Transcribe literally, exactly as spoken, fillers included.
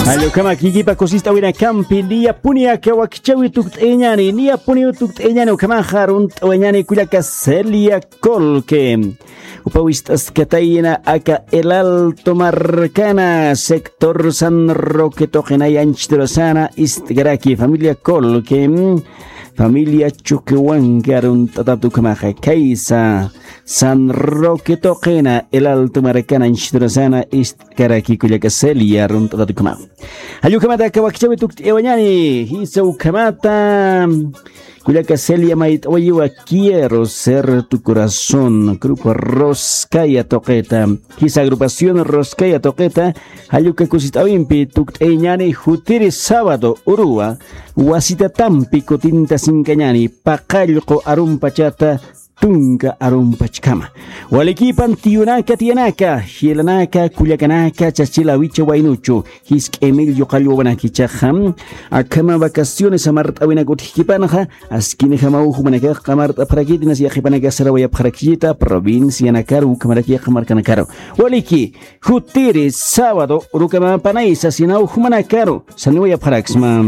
Allukama kikipa kusist'awinakampi niyapuni aka wakchawi tukt'ayañani, niyapuni tukt'ayañani, ukamaxa arunt'awayañani kullaka Celia Colque. Upa wist'askatayna aka El Alto markana sector San Roque tuqinay anchhiturasana ist'karaki familia Colque. Familia Chuquihuanca arunt'atat ukhamaxa kaysa San Roque tuqina El Alto markana anchhiturasana ist'karaki kullaka Celia arunt'atat ukhama. Jallukhamata aka wakchawi tukt'ayawañani, jisa ukhamata. Kullaka Celia mayt'awayiwa Quiero ser tu corazón, grupo Roscaya tuqita. Jisa agrupación Roscaya tuqita, jalluka kusist'awimpi tukt'ayañani jutiri sábado uruwa, wasitatampi kutinta sinkañani, paqallqu arumpachata tunka arumpachkama. Walikipan tiyunaka tiyanaka, jilanaka, kullakanaka, chachila wicha waynuchu, jisk'imil yuqall wawanaki ichaxa, akhama vacaciones amart'awinak utjkipanxa, askinjamaw jumanakax qamart'apxarakiti, inas yaqhipanaka sarawayapxarakchita, provincianakaru, ukhamaraki qamarkanakaru. Waliki, jutiri, sábado, urukamapanay sasinaw jumanakaru, saniwayapxaraksma.